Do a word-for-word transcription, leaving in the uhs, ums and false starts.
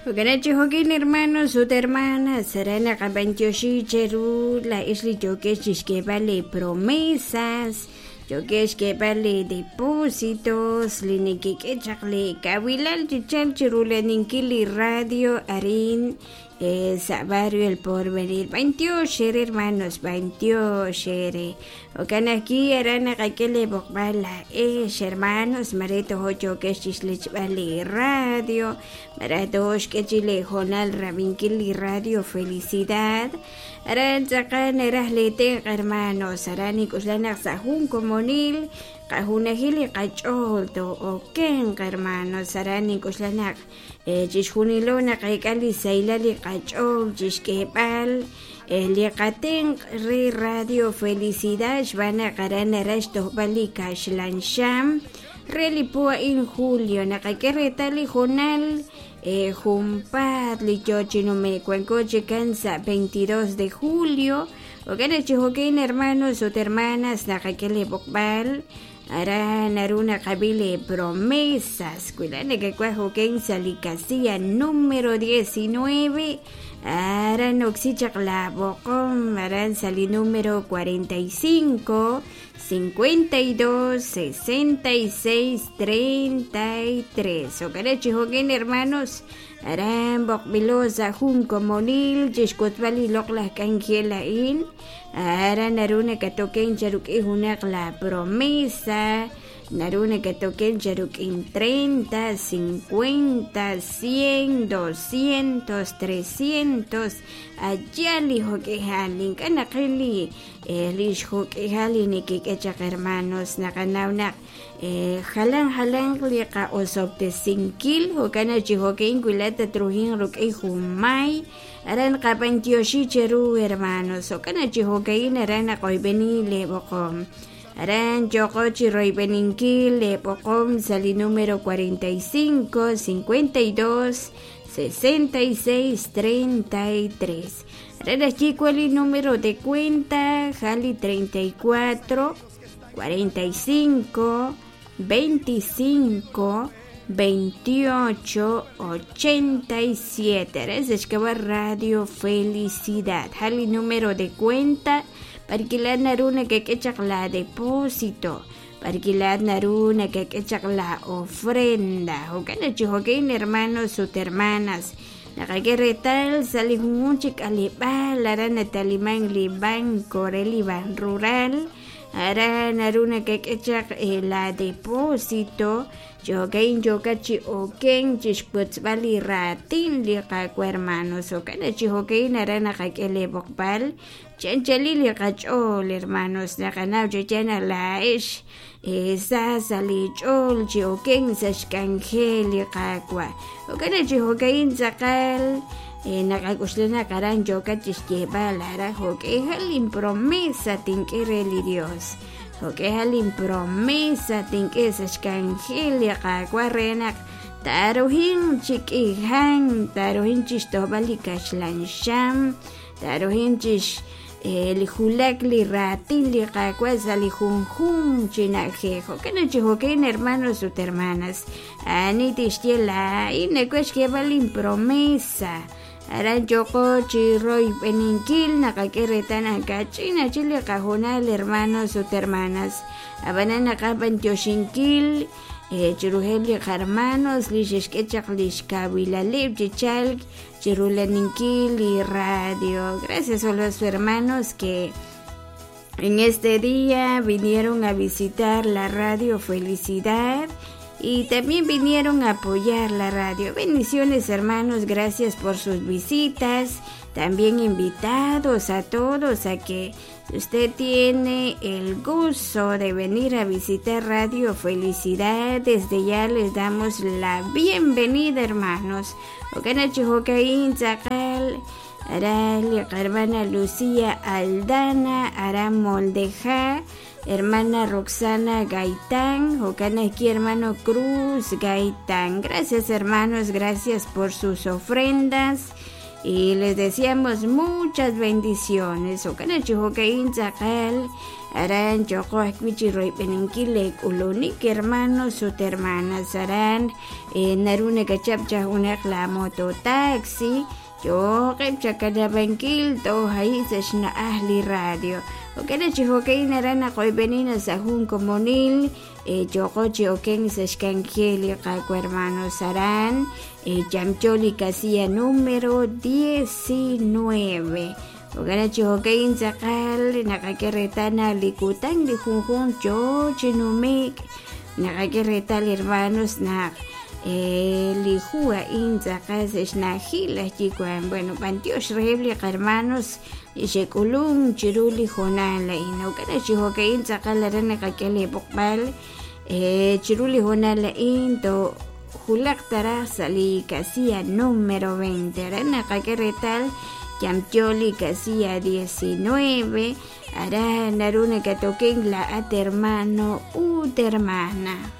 Jo'kan chi hermanos ut hermanas aran naqab'antioxi cheru laa'ex li yookex chixk'eeb'al li promesas yookex xk'eeb'al li depósitos li nekek'e chaq li kawilal chi chalk chirulaninkil li radio arin sa' barrio El Porvenir. B'antiox ere hermanos, b'antiox ere. Jo'kan ajwi' aran naqak'e li b'oqb'al laa'ex hermanos mare tojo yookex chixlechb'al li radio mare tojo xk'e chi li hoonal rab'inkil li radio Felicidad. Aran tz'aqal naraj li tenq' hermanos aran nik'uxlaj naq sa' jun komonil qajunajil li qach'ool to'okenq hermanos aran nik'uxlaj naq chixjunilo naqak'al li sahilal li qach'ool chixk'eeb'al li qatenq' re Radio Felicidad xb'aan naq aran naraj xtojb'al li kaxlan xam re li po a'in julio naqak'e reetal li hoonal junpaat li yoo chi nume'k wanko chikan sa' veintidós de julio. Jo'kan chi jo'kan hermanos ut hermanas naqak'e li b'oqb'al aran naru naqab'i li promesas wi nakak'uaj jo'kan sa' li casilla número diecinueve aran oksi chaq la b'oqom aran sa' li número cuarenta y cinco, cincuenta y dos, sesenta y seis, treinta y tres. Jo'kan chi jo'kan hermanos aran b'oqb'ilo sa' jun komonil chixk'utb'al li loq'laj k'anjel a'in aran naru nakatoken charuk'i junaq la promesa naru nakatoken charuk'in treinta, cincuenta, cien, doscientos, trescientos allá li jo'k'ejal ink'a' naqil li lix jo'k'ejal li nekik'e chaq hermanos naqanaw naq jalan jalan li qa'osob'tesinkil jo'kan chi jo'kin wila tatruhin ruk'in junmay aran qab'antioxi cheru hermanos jo'kan chi jo'kin aran naqoyb'eni li b'oqom aran yoqo chi royb'eninkil li b'oqom sa' li número cuarenta y cinco, cincuenta y dos, sesenta y seis, treinta y tres. Aran ajwi' cuál li número de cuenta jali treinta y cuatro, cuarenta y cinco, veinticinco, veintiocho, ochenta y siete. Aran sa' Radio Felicidad jali número de cuenta parkilat naru nakak'e chaq la depósito parkilat naru nakak'e chaq la ofrenda. Jo'kan chi jo'kan hermanos ut hermanas naqak'e reetal sa' li junjun chi k'aleb'aal aran nataliman li banco re li Ban Rural aran naru nakak'e chaq la depósito jo'kan yo'ka chi oken chixkutzb'al li raatin li qak'u hermanos jo'kan chi jo'kan aran naqak'e li b'oqb'al chanchali li qach'ool hermanos naqanaw chana la'ex sa sa' li ch'ool chi oken sa' xk'anjel li qak'wa jo'kan chi jo'kan tz'aqal naqak'uxlaj naq aran yo'ka chixyeeb'al aran jo'k'ejal inpromesa tink'e re li Dios jo'k'ejal inpromesa tink'e sa' xk'anjel li qak'wa re naq taruhin chik'ijan taruhin chixtojb'al li kaxlan xam taruhin chix li julak li raatin li qak'wa sa' li junjun chi na'ajej. Jo'kan chi jo'kan hermanos ut hermanas ani tixye laa'in nak'uaj xk'eeb'al inpromesa aran yoqo chi royb'eninkil naqak'e reetal nakach'in achi li qajonal hermanos ut hermanas ab'anan naqab'antioxinkil chirujeb' li qarmanos li xexk'e chaq li xkawilaleb' chi chalk chirulaninkil li radio. Gracias a los hermanos que en este día vinieron a visitar la radio Felicidad y también vinieron a apoyar la radio. Bendiciones hermanos, gracias por sus visitas. También invitados a todos a que si usted tiene el gusto de venir a visitar Radio Felicidad, desde ya les damos la bienvenida, hermanos. Hermana Lucía Aldana, Aram Moldeja, hermana Roxana Gaitán, Jocanaki, hermano Cruz Gaitán. Gracias, hermanos, gracias por sus ofrendas. Y les deseamos muchas bendiciones. Aran yooqo ajwi' chi royb'eninkil leek'ulunik hermanos ut hermanas. Aran naru nakachap chaq junaq la mototaxi yooqeb' chakanabankil toj ahi sa' xna'aj li radio. Jo'kan chi jo'kan aran naqoyb'eni sa' jun komonil yooqo chi oken sa' xk'anjel li Qaawa' hermanos. Aran yamyo li casilla número diecinueve. Jo'kan chi jo'kan tz'aqal naqak'e reetal naq li kutan li junjunq yoo chi nume'k naqak'e reetal hermanos naq li hu a'in tz'aqal sa' xna'ajil laj yiwan. Bueno, b'antiox reheb' li qahermanos li xe'k'ulunk chiru li hoonal a'in. Jo'kan chi jo'kan tz'aqal aran naqak'e li b'oqb'al chiru li hoonal a'in to julaq taraj sa' li casilla número veinte. Aran naqak'e reetal yamyo li casilla diecinueve. Aran naru nakatoken laa'at hermano ut hermana.